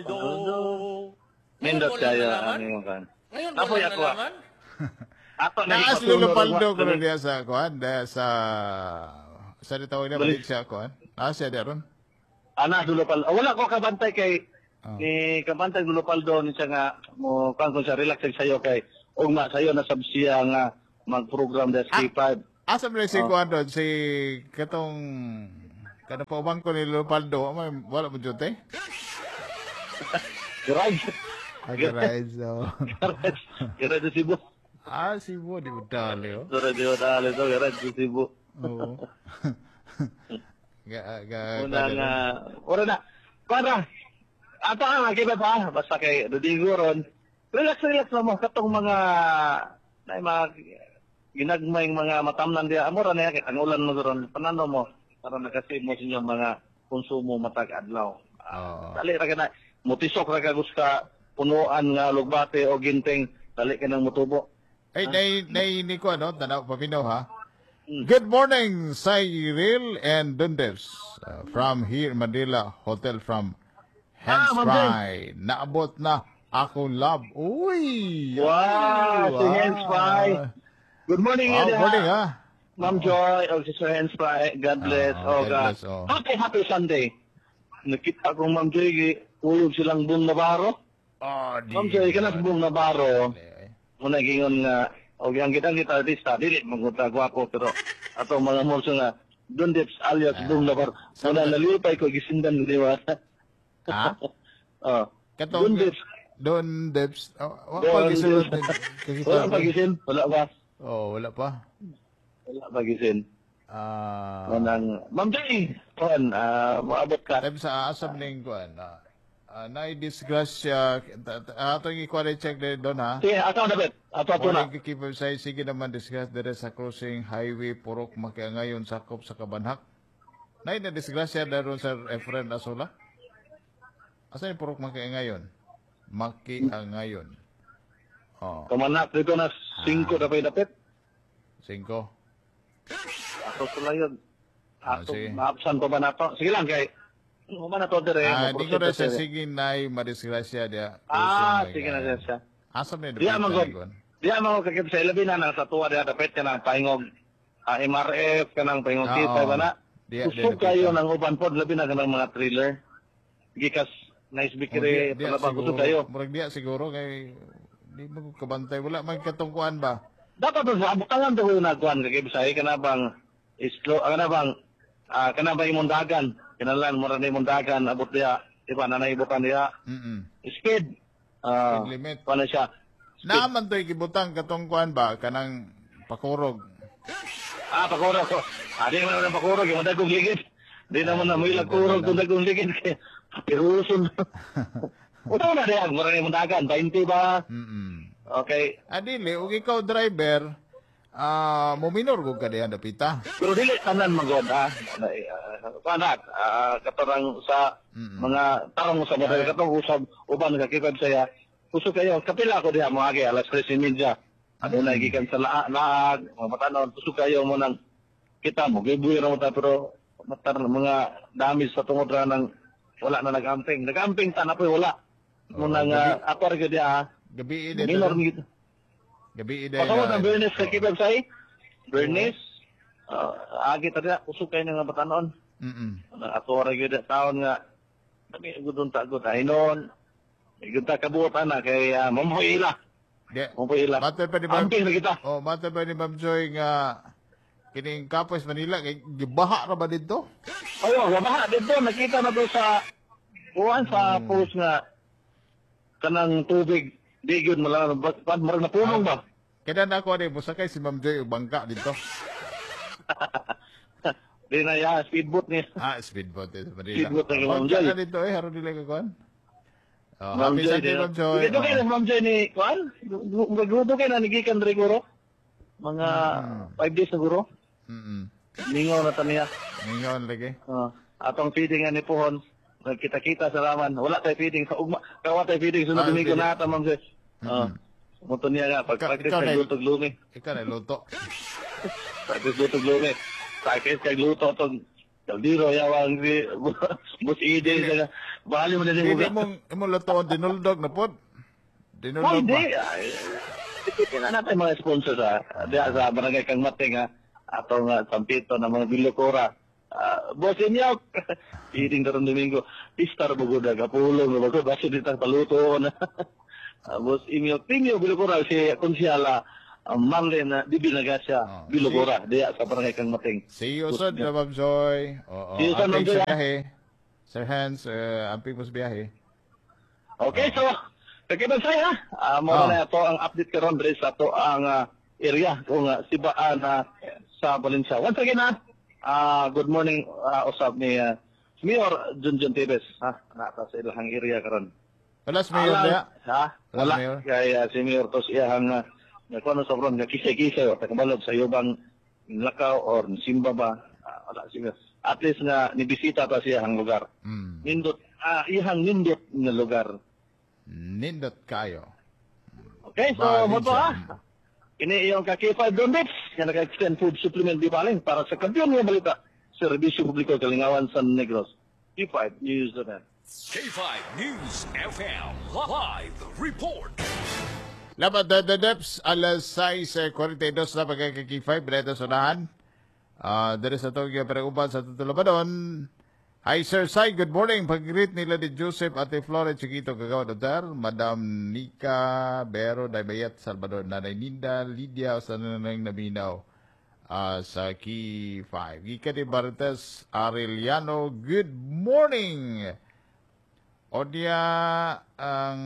Nindot Ngayon ko lang kayo nalaman. ang imong kan. Ngayon ko Apoy lang ako, ah. nalaman. Ato na Naas Lolo Paldo ko na diya sa kuan, diya sa sa di tawag na Balik. balik siya kuan. Ah, siya diya ron. Ana Lolo Paldo. Ah, wala ko kabantay kay ni kabantay Lolo Paldo ni siya nga mo kan ko siya relax sayo kay ugma sayo na sab siya nga mag-program sa K5. Asa man si kuan doon si katong kanang paubang ko ni Lolo Paldo, may wala mo jute? Garage. Ah, so. Garage. Garage sa Cebu. Ah, Cebu, di mo dali, oh. Garage di dali to, garage sa Cebu. Oo. Ga, ga, Una nga ora na. Para ato ang akibat ha, basta kay Rodrigo ron. Relax, relax lang mo katong mga na mga ginagmay mga matamnan diya amo ra na kay ang ulan mo ron panano mo para nakasave mo sa inyong mga konsumo matag adlaw. Oo. Dali ra ka na mutisok ra ka gusta punuan nga lugbate o ginting dali ka nang mutubo. Ay, nay, nay, ni ko, ano, tanaw, paminaw, ha? Good morning, Cyril and Dundes. From here, Manila Hotel from Hands Ah, Ma'am Fry. Naabot na akong love. Uy! Wow, si Wow. Hans Fry. Good morning, Wow, Eda. morning, ha? Ma'am Joy, o si Sir Hans Fry. God bless. Ah, O, God bless, oh. Happy, happy Sunday. Nakita akong Ma'am Joy, uyog silang Boom Navarro. Oh, di. Ma'am Joy, ka na sa Boom Navarro. Eh, Muna gingon nga, o ang kitang kita artista, dili magunta gwapo, pero atong mga morso nga, Don Dips alias Boom Navarro. Muna nalipay ko, gisindan di ba? Ha? Oh. Katong, Don Dips. Don Dips. Oh, wa Don pa gisulod Dips. ni- Wala pa gisin? Wala ba? Oh, wala pa. Wala pa gisin. Ah. Manang, Ma'am Joy, kuan, maabot ka. Time sa asam ning kuan. Nay disgrasya atong i-quality check din doon ha. Sige, ato na bet. Ato ato na. Morning kikip sa sige naman disgrasya dire sa crossing highway Purok Makiangayon sakop sa Kabanhak. Nay na disgrasya daron sa Efren Asola. Asa yung Purok Makiangayon? Makiangayon. Oh, Kamanak dito na 5 na pa'y dapit. 5. Ato sila yun. Ato, Sige. maabsan pa ba na to? Sige lang, kay. Ano na to dire? Ah, di ko Maproceed na siya dire. sige nay madisgrasya dia. Ah, crossing sige na siya siya. Asa man Diya man gud. Diya man gud kakip sa ilabi na nang sa tuwa diya dapit ka ng paingog. MRF ka ng paingog Oo. kita ba na? Diya, diya Kusog dapit, kayo ah. ng uban pod labi na ka ng mga thriller. Gikas nice Oh, bikiri diya palabang siguro, kusog kayo. Murag diya siguro kay di mo ko kabantay wala man katungkuan ba. Dapat ba sa butangan daw yung nagkuhan kay Bisaya kana bang islo kana bang kana bang imong dagan kinalan mo ra ni imong dagan abot diya di ba nanay ibutan diya speed Speed limit. kuan na siya. Naaman to'y gibutang katungkuan ba kanang pakurog. Pakurog ko di man na pakurog yung dagong ligid di naman na may kurog kung dagong ligid kay piruson. Utaw na diya mo ra ni imong dagan 20 ba. Okay. Adili ug ikaw driver mominor gud ka diha dapita. Pero dili tanan magod ha. Kuan na, katarang sa mga tarong sa mga katong usab uban ka kipad saya. Kusog kayo, kapila ako diha mo agi alas 3:30. Ano na gikan sa laag, mga batanon, kusog kayo mo nang kita mo gibuyo ra mo ta pero matar mga damage sa tungod ra nang wala na nag-amping. Nag-amping ta na po'y wala. Mo nang ato ra gyud diha. Ha. Gabi ide. Minor ni gid. Gabi ide. Pasawat ang Bernice sa kipad say. Bernice, agi ta diha, kusog kayo ng batanon. Ako ra gyud taon nga dami gud unta gud ay noon. Gud ta kabuot ana kay mamoy ila. Di. Mamoy ila. Matay pa ni Ma'am. Amping na kita. Oh, matay pa ni Ma'am Joy nga kining Kapos Manila kay gibaha ra ba didto? Ayo, gabaha dito nakita na to sa kuan sa post nga kanang tubig di gyud mala pan murag napunong ba. Kaya na ako ani mosakay si Ma'am Joy og bangka dito. Di na ya speedboat ni. Ah, speedboat sa Manila. Speedboat na kay Ma'am Bangka Joy. na dito eh, haron dili ka kuan. Oh, Ma'am happy Joy. Sunday, Ma'am Joy. Dito kay Ma'am Joy ni kuan. Murag kay na nigikan diri guro. Mga 5 days siguro. Mingaw na ta niya. Mingaw lagi. Atong feeding nga ni Pohon, nagkita-kita sa laman. Wala tay feeding sa ugma. Kawa tay feeding sunod Ah, Domingo feeding. na ata, ma'am sir. Muto niya nga pag practice Ikaw kag na- luto glumi. Ikaw na luto. Practice luto glumi. Practice kag luto tong kaldero yawang si Boss EJ sa Bali mo na din Hindi mo. mong imong lutoon dinuldog na pod. Oh, Dinuldog ba? hindi. Ay, na natin mga sponsor sa diya sa Barangay Kangmating ha. Atong sampito na mga Bilokora. Boss Inyok, eating karong Domingo. Pista ra bugoda kapulong ra bago basi ditang paluto na. Boss Inyok, Tingyo Bilokora si konsyala Marlene Dibinagasya Oh, Bilokora diya sa Barangay Kangmating. See you soon, Ma'am Joy. Oo. See you soon, Ma'am Amping Joy, sa ah. biyahe. Sir Hans, amping mo sa biyahe. Okay, so Kagibang ha. Mo na ato ang update karon diri sa ato ang area kung sibaan sa Valencia. Once again ha, good morning usab ni Mayor Junjun Tevez ha. Naa sa ilahang area karon. Wala si Mayor Alang- diya. Ha? Wala Wala. Mayor. Kay si Mayor tos iyahang kuno sa ron nga kisay-kisay o takabalog sa yubang lakaw or simba ba. Wala si Mayor. At least nga nibisita ta siya ang lugar. Nindot iyahang nindot nga lugar. Nindot kayo. Okay, so mo to Valencia. ha. Ini iyong ka-K5 Don Bits nga naka-extend food supplement di baling para sa kampiyon nga balita. Serbisyo Publiko Kalingawan San Negros. K5 News FM. K5 News FM Live Report. Labat the Deps, alas 6:42 na pagkakaki-5, Breta Sonahan. Dere sa Tokyo, pero uban sa Tutulabanon. Hi Sir Sai, good morning. Pag-greet nila ni Joseph Ate Flores Chiquito Kagawad Hotel, Madam Nika Bero Daybayat Salvador, Nanay Ninda, Lydia, sa nanang Naminaw sa Key 5. Gika ni Bartes Arellano, good morning. Odia ang.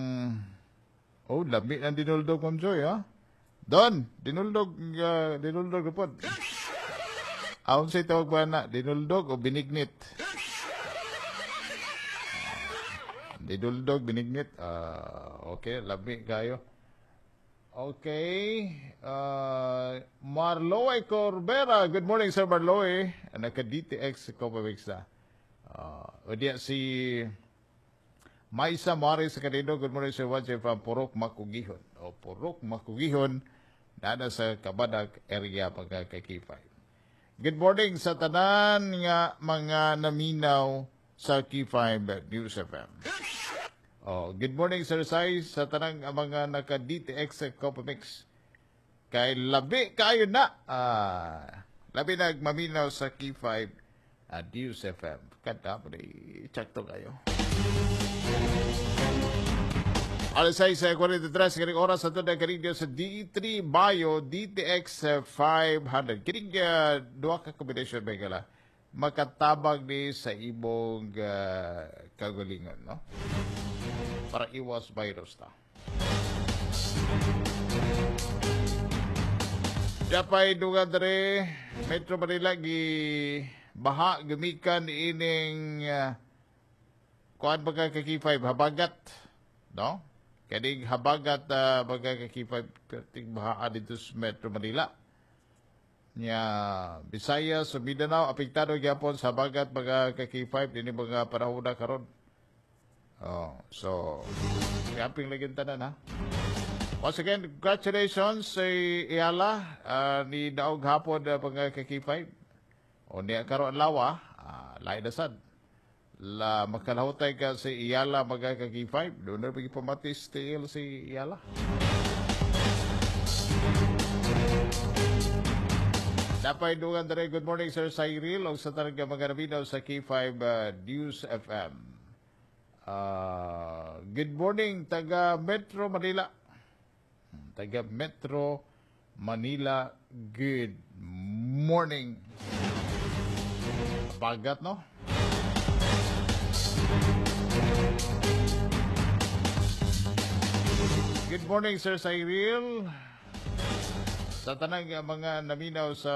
Oh, lami ng dinuldog, Ma'am Joy, ha? Don, dinuldog, dinuldog na po. Aon sa tawag ba na? Dinuldog o binignit? Dinuldog, binignit. Okay, lami kayo. Okay. Marloe Corbera. Good morning, Sir Marloe. Naka-DTX Copa na. O diya si Maisa Maris sa Kanino, good morning Sir Juan from Purok Makugihon. O Purok Makugihon, nana sa Kabadak area pagkakakipay. Good morning sa tanan nga mga naminaw sa K5 News FM. Oh, good morning Sir Sai sa tanang mga naka DTX sa Copamix. Kay labi kayo na. Labi nagmaminaw sa K5 News FM. Kada mo check to kayo. Alas 6:43 kaning oras sa tunay kaning sa D3 Bio DTX 500. Kining duha ka combination ba gala makatabang ni sa imong kagalingon, no? Para iwas virus ta. Dapay duga dere Metro Manila gi baha gumikan ining kuan baga ka K5 habagat, no? Kaning habagat baga ka K5 perting baha dito sa Metro Manila. Nya Visayas ug Mindanao apektado gyapon sa habagat baga ka K5 dinhi mga panahon na karon. Oh, so kaping lagi tanan ha. Once again, congratulations sa Eala ni daog hapon mga ka K5. O niya karon lawa, lain na sad. La makalahutay ka sa Eala mga ka K5. Doon na pamatis TL si Eala. Napay dugan dere, good morning Sir Cyril og sa tanang mga nabinaw sa K5 News FM. Good morning taga Metro Manila. Taga Metro Manila, good morning. Bagat, no? Good morning, Sir Cyril. Sa tanang mga naminaw sa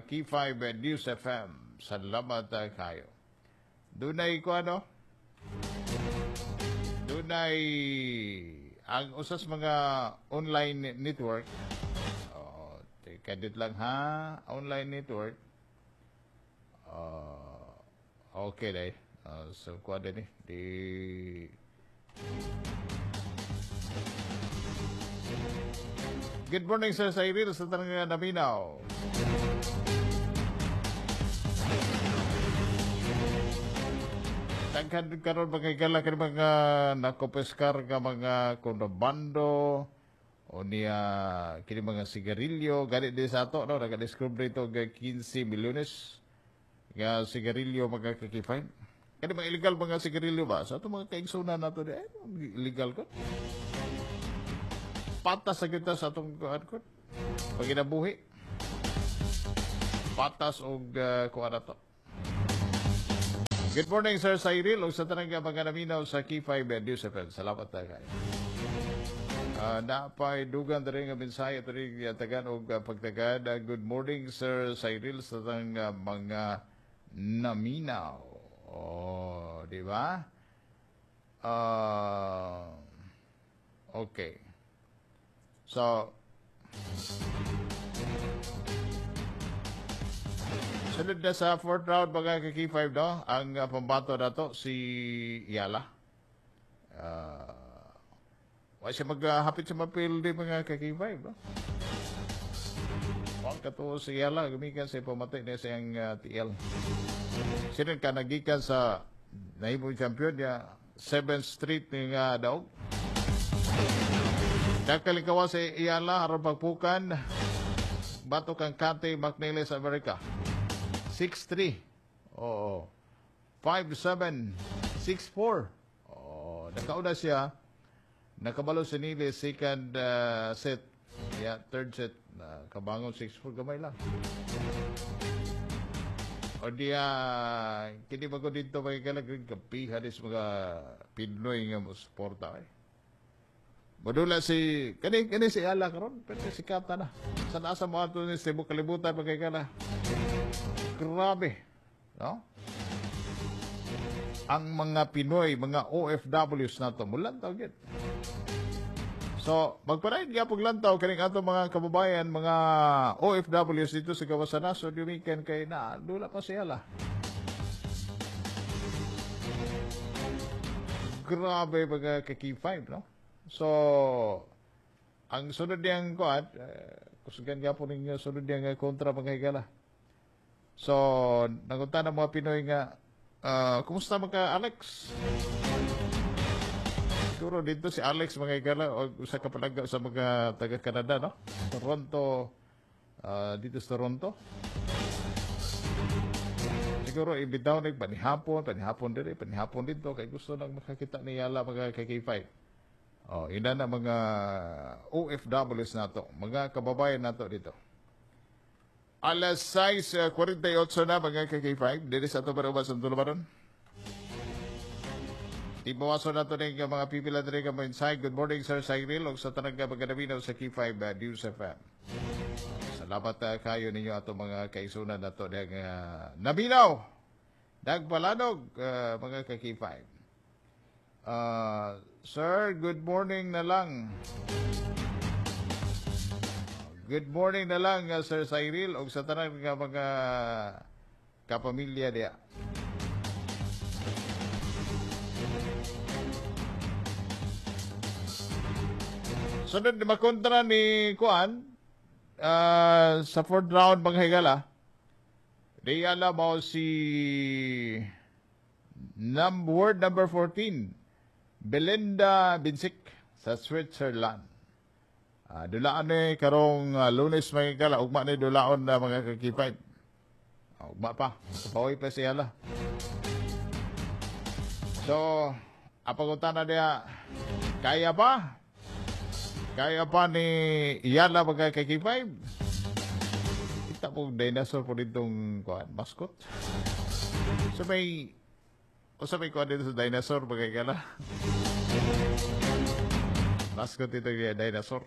K5 News FM, salamat kayo. Dunay ko ano? Dunay ang usas mga online network. Oh, teka dit lang ha, online network. Okay dai. So kuha din eh. Di Good morning, Sir Cyril, sa tanang naminaw. Taga Daghan karon, mga higala, kani mga nakopiskar nga mga kontrabando o niya kini mga sigarilyo gani di sa ato, no? Naka-discover ito og 15 milyones nga sigarilyo, mga ka-K5. Kani mga illegal mga sigarilyo ba sa ato mga kaigsunan nato di ay illegal ko patas sa kita sa atong kuan ko paginabuhi, patas og kuan ato. Good morning, Sir Cyril, ug sa tanang mga naminaw sa K5 News FM. Salamat ta kayo. Napay dugan diri nga mensahe diri tagan og pagtagad. Good morning, Sir Cyril, sa tanang mga naminaw. Oh, di ba? Okay. So, sunod na sa fourth round, mga ka-K5, no? Ang pambato na to si Eala. Wa siya maghapit sa mapildi, mga ka-K5, no? Wa kato si Eala gumikan sa pamati niya sa iyang TL. Sino ka nagikan sa nahimong champion niya 7th Street nga daog. Nakalikawa si Eala aron pagpukan batok ang Kate McNeely sa Amerika. 6-3. Oo. 5-7. 6-4. Oo. Nakauna siya. Nakabalo si Neely second set. Yeah, third set. Kabangon 6-4 gamay lang. O diya, kini ba ko dito mga kalagring kapihan is mga Pinoy nga mo suporta eh. Modula si kani kani si Eala karon, pero sikata na. Sa nasa mo ato ni Cebu kalibutan, mga higala. Grabe, no? Ang mga Pinoy, mga OFWs nato mulantaw gid. So, magpadayon gyapon lantaw kaning ato mga kababayan, mga OFWs dito sa gawas sa nasod, weekend kay na dula pa siya la. Grabe, mga ka-K5, no? So, ang sunod niyang kuan, kusugan gyapon ninyo sunod niyang kontra, mga higala. So, nangunta ng mga Pinoy nga, kumusta mga Alex? Siguro dito si Alex, mga higala, o usa ka palangga sa mga taga Canada, no? Toronto, dito sa Toronto. Siguro ibitaw ni panihapon, panihapon diri, panihapon dito kay gusto nang makakita ni Eala, mga ka-K5. Oh, ina na mga OFWs nato, mga kababayan nato dito. Alas 6:48 na, mga ka-K5, diri sa ato para sa tulumanon. Tibawaso nato ning mga pipila diri ka mensahe. Good morning, Sir Cyril, ug sa tanang mga naminaw sa K5 News FM. Salamat kayo ninyo ato mga kaisunan nato diyang naminaw. Nagpalanog, mga ka-K5. Sir, good morning na lang. Good morning na lang, Sir Cyril, ug sa tanang nga mga kapamilya diya. Sunod na makontra ni Kuan sa fourth round, mga higala. Di alam mo si world number 14, Belinda Bencic sa Switzerland. Dulaan ni karong Lunes, mga higala, ugma ni dulaon na, mga ka-K5. Ugma pa. Pawi pa siya la. So, apagutan na niya, kaya pa? Kaya pa ni Eala, mga ka-K5? Kita po dinosaur po ditong kuan, mascot. So may o sa may kuan dito sa dinosaur, mga higala. Mascot dito yung dinosaur.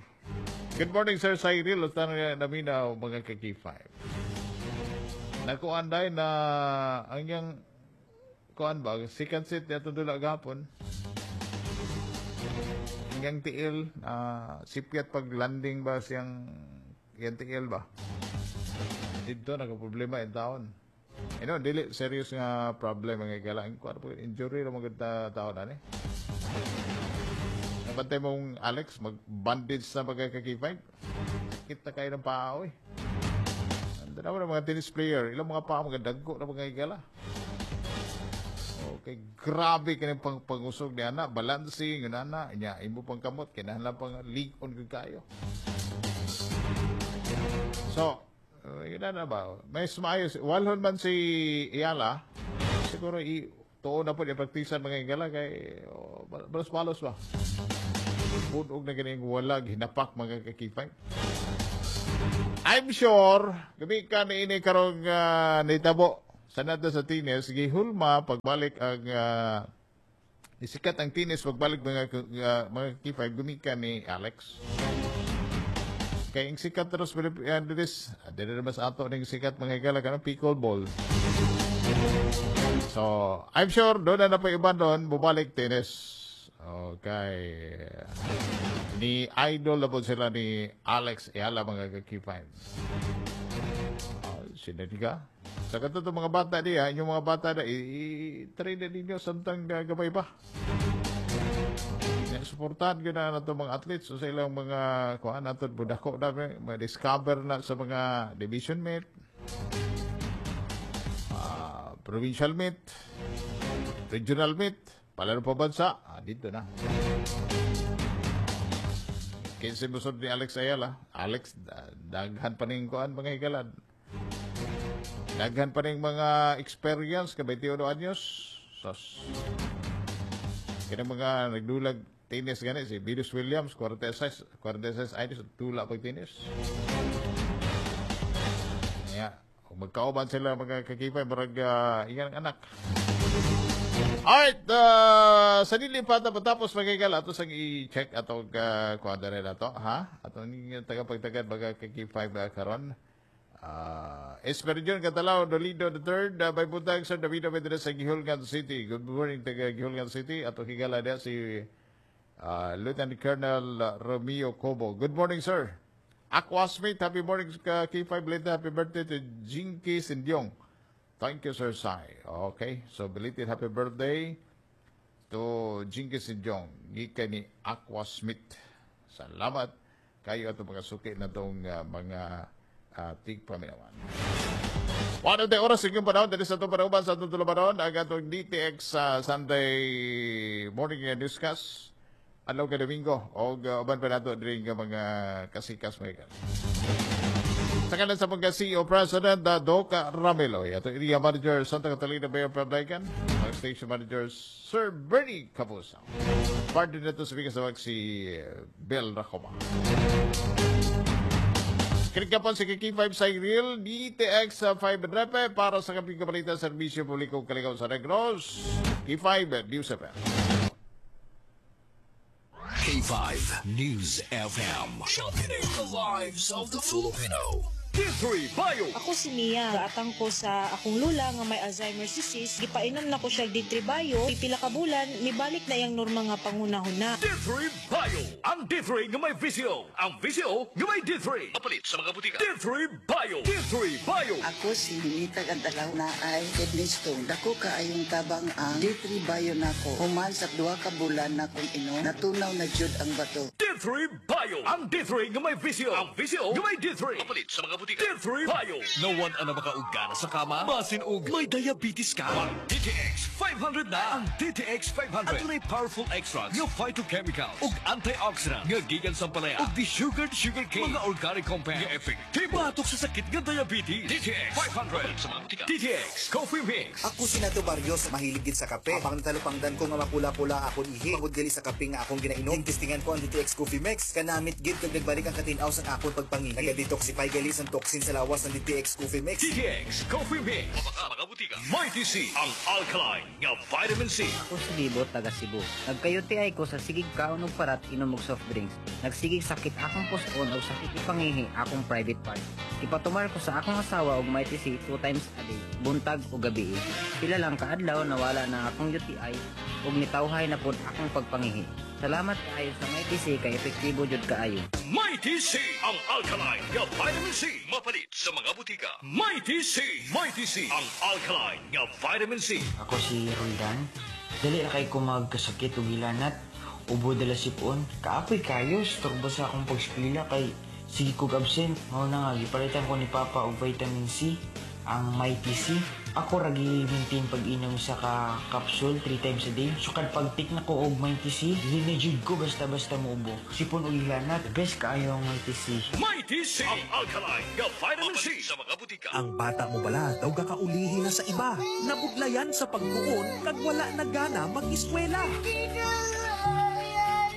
Good morning, Sir Cyril. Usta na naminaw, mga ka-K5. Nakuan dahil na ang yang kuan ba, second set niya dula gapon. Ang yang tiil, sipyat pag landing ba siyang yang tiil ba? Dito nagka problema in taon. Ano, dili serious nga problem, mga higala. Ang kuan po injury ra mga taon ani. Nabantay mong Alex, mag-bandage na mga ka-K5. Kita kayo ng paa, oy. Ando na mga tennis player, ilang mga paa, mga dagko na, mga higala. Oh, Kay grabe kini pang pangusog ni ana, balancing yun ana, nya imo pang kamot kinahanglan pang lig-on gyud kayo. So, yun na ba? May maayos. Walhon man si Eala, siguro i tuo na po i-praktisan, mga higala, kay oh, balos-balos ba? Punog na ganing walag hinapak, mga ka-K5. I'm sure, gabi ka ni ini karong nitabo sa nato sa tennis, gihulma pagbalik ang isikat ang tennis pagbalik, mga K5, gumikan ni Alex. Kay ang sikat terus Pilipinas, dili naman sa ato ning sikat, mga higala, kanang pickleball. So, I'm sure doon na na po iba doon, bubalik tennis. Okay. Ni idol na po sila ni Alex Eala, mga ka-K5. Ah, sinadiga. Sa kato mga bata diya, inyong mga bata na, i-train na ninyo samtang gabay pa. Ya, suportahan ko na nato mga athletes so sa ilang mga kuan nato budako na ma-discover na sa mga division meet, provincial meet, regional meet, palaro pa bansa, dito na. Kinsa musod ni Alex Eala. Alex, daghan pa ning kuan, mga higalan. Daghan pa ning mga experience ka 21 anyos. Sos. Kaya mga nagdulag tennis gani si Venus Williams, 46, 46 anyos, tula pag tennis. Yeah. Kung magkauban sila, mga ka-K5, marag ingan ang anak. Alright, sa dili pa tapos, mga higala, ato sang i-check atong kuan na to, ha? Atong tagapagtagad, mga ka-K5, karon. Esperidion Catalaw, Dolido the third, may buntag, Sir Davido Medina sa Guihulngan City. Good morning, taga Guihulngan City. Atong higala diya si Lieutenant Colonel Romeo Cobo. Good morning, sir. Aqua Smith, happy morning, K5 Lita. Happy birthday to Jinky Sindyong. Thank you, Sir Sai. Okay, so belated happy birthday to Jinky Sindyong. Gikan ni Aqua Smith. Salamat kayo ato mga suki na itong mga tigpaminawan. One of the oras yung panahon, dali sa itong panahon, sa itong tulubanon, ang atong DTX sa Sunday morning newscast. Adlaw ka Domingo, o uban pa nato diri nga mga kasikas, mga. Sa kanan sa mga CEO President Doc Ramelo, ato area manager Santa Catalina Mayor Pablacan, ang station manager Sir Bernie Cabusa. Partner na ito sa bigas si Bill Racoma. Kinikapon si K5 sa Real DTX sa 5 Repe para sa kaping kapalitan serbisyo publiko kaligaw sa Negros. K5 News FM. K5 News FM. Championing the lives of the Filipino. K3 Bio. Ako si Mia. Gaatang ko sa akong lula nga may Alzheimer's disease. Gipainom na ko siya D3 Bio. Pipila ka bulan, mibalik na iyang normal nga panghunahuna. D3 Bio. Ang D3 nga may VCO. Ang VCO nga may D3. Mapalit sa mga butika. D3 Bio. D3 Bio. Ako si Ninita Gantalaw na ay kidney stone. Dako kaayong tabang ang D3 Bio nako. Human sa 2 ka bulan na kong inom, natunaw na jud ang bato. D3 Bio. Ang D3 nga may VCO. Ang VCO nga may D3. Mapalit sa mga butika. D3 Bio. No one ana makaugana sa kama. Basin og may diabetes ka. Ang DTX 500 na. Ang DTX 500. Adunay powerful extracts nga phytochemicals ug antioxidant nga gikan sa palaya ug desugared sugar cane. Mga organic compound nga epektibo batok sa sakit nga diabetes. DTX 500 sa mga butika. DTX Coffee Mix. Ako si Nato Barrios, mahilig gid sa kape. Apang natalupangdan ko nga mapula-pula akong ihi tungod gali sa kape nga akong ginainom. Testingan ko ang DTX Coffee Mix. Kanamit gid kag nagbalik ang katinaw sa akong pagpangihi. Naga-detoxify gali sa toxin sa lawas ng DTX Coffee Mix. DTX Coffee Mix. Mga butika. Mighty C. Ang alkaline nga vitamin C. Ako si Bibo, taga Cebu. Nagka-UTI ko sa sigig kaon og parat, inom og soft drinks. Nagsigig sakit akong puson og sakit ipangihi akong private part. Ipatumar ko sa akong asawa og Mighty C two times a day, buntag o gabi. Pila lang kaadlaw nawala na akong UTI ug nitawhay na pod akong pagpangihi. Salamat kaayo sa Mighty C kay epektibo jud kaayo. Mighty C. Ang alkaline nga vitamin C. Mapalit sa mga butika. Mighty C. Mighty C. Ang alkaline nga vitamin C. Ako si Roldan. Dali ra kay ko magkasakit ug hilanat. Ubo dala sipon. Kaapoy kayo, storbo sa akong pagskwela kay sige kog absent. Mao na nga gipalitan ko ni Papa og vitamin C. Ang Mighty C. Ako ragi maintain pag-inom sa ka capsule 3 times a day. Sukad pag-take na ko og Mighty C, dili na jud ko basta-basta muubo. Sipon og hilanat, best kaayo ang Mighty C. Mighty C, ang alkaline nga vitamin C sa mga butika. Ang bata mo bala daw gakaulihi na sa iba. Nabudlayan sa pagtuon kag wala na gana mag-eskwela.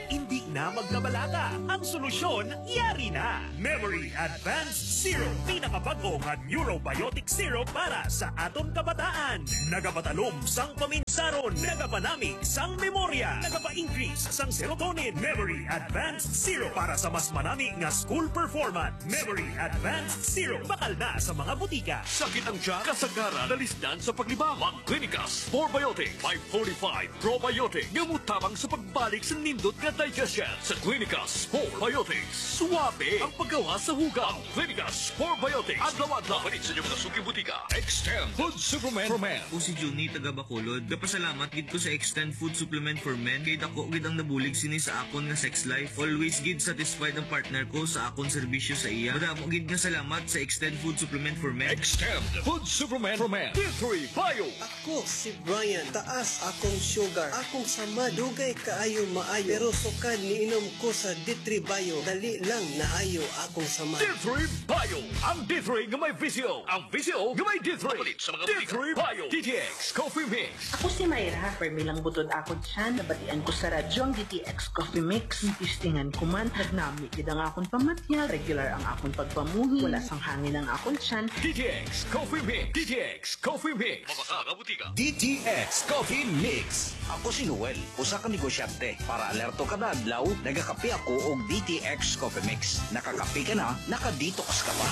Hindi na magkabalaka. Ang solusyon, yari na. Memory Advanced Syrup. Pinakabago nga neurobiotic syrup para sa aton kabataan. Nagapatalom sang paminsaron. Nagapanamig sang memorya. Nagapa-increase sang serotonin. Memory Advanced Syrup para sa mas manami nga school performance. Memory Advanced Syrup. Bakal na sa mga butika. Sakit ang tiyan, kasagaran, nalisdan sa paglibang. Mag-Clinicas 4Biotic, 545 Probiotic. Nga mutabang sa pagbalik sa nindot nga digestion. Sa Clinicas 4Biotics, suwabe ang paggawa sa hugaw. Clinicas 4Biotics, adlaw-adlaw. Palit sa inyong mga suki butika. Extend Food Supplement for Men. Ako si Juni taga Bacolod. Gapasalamat gid ko sa Extend Food Supplement for Men kay dako gid ang nabulig sini sa akon nga sex life. Always gid satisfied ang partner ko sa akon serbisyo sa iya. Madamo gid nga salamat sa Extend Food Supplement for Men. Extend Food Supplement for Men. D3 Bio. Ako si Brian. Taas akong sugar. Akong sama dugay kaayo maayo. Pero sukad niinom ko sa D3 Bio, dali lang naayo akong sama. D3 Bio. Ang D3 nga may VCO. Ang VCO nga may D3. Palit sa mga D3 Bio. DTX Coffee Mix. Ako si Mayra. Permi lang butod ako tiyan. Nabatian ko sa radyo ang DTX Coffee Mix. Tistingan ko man. Nagnami gid ang akong pamatya. Regular ang akong pagpamuhi. Wala sang hangin ang akong tiyan. DTX Coffee Mix. DTX Coffee Mix. Mabasa butika. DTX Coffee Mix. Ako si Noel, usa ka negosyante. Para alerto kada adlaw, nagakape ako og DTX Coffee Mix. Nakakape ka na, naka-detox ka pa.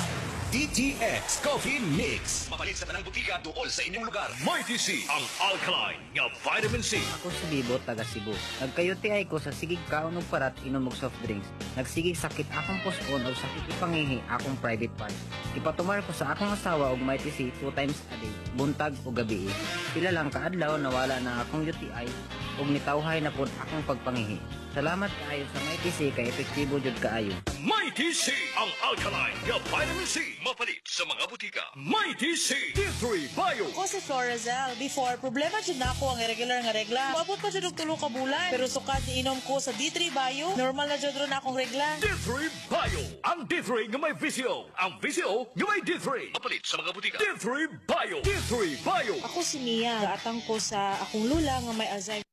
DTX Coffee Mix. Mapalit sa tanang butika duol sa inyong lugar. Mighty C, ang alkaline nga vitamin C. Ako si Bibo, taga Cebu. Nagka-UTI ko sa sigig kaon og parat inom og soft drinks. Nagsigig sakit akong puson og sakit ipangihi akong private part. Ipatumar ko sa akong asawa og Mighty C two times a day, buntag o gabi. Pila lang kaadlaw nawala na akong UTI ug nitawhay na pud akong pagpangihi. Salamat kaayo sa Mighty C kay epektibo jud kaayo. Mighty C, ang alkaline nga vitamin C. Mapalit sa mga butika. Mighty C, D3 Bio. Ako si Florazel. Before, problema jud nako ang irregular nga regla. Moabot pa jud og 3 ka bulan. Pero sukad niinom ko sa D3 Bio, normal na jud ron akong regla. D3 Bio. Ang D3 nga may VCO. Ang VCO nga may D3. Mapalit sa mga butika. D3 Bio. D3 Bio. Ako si Mia. Gaatang ko sa akong lula nga may Alzheimer's.